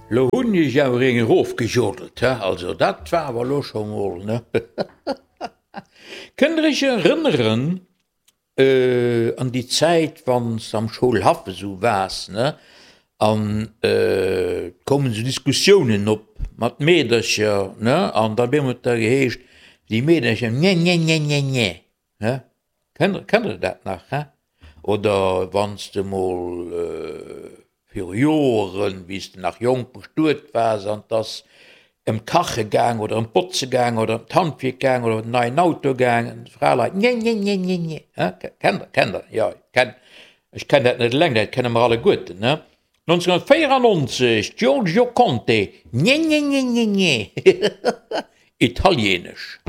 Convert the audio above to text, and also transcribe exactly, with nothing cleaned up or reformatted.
Lo hunn ech awer eng erofgejodelt, he, also dat war awer lo scho mol, ne? Kënnt der iech erënneren an déi Zäit, wann s de am Schoulhaff esou waars, ne, an et koumen esou Diskussiounen op mat Meedercher, ne, an da op eemol huet da geheescht, déi Meedercher, nje, nje, nje, nje, nje, ne? Kennt kennt der dat nach, he? Oder wann s de mol viru Joren, wéi s de nach jonk bestuet waars an 't ass ëm d'Kache gaang oder ëm d'Botze gaang oder ëm d'Handwierk gaang oder ëm den neien Auto gaang, d'Fraleit, Nje, nje, nje, nje, nje, he? Kennt der, kennt der? Jo, kennt, ech kennen dat net eleng, dat kenne mer alleguerten, ne? nonzénhunnertvéierannonzeg, Giorgio Conte, Nje, nje, nje, nje, nje, Italienesch.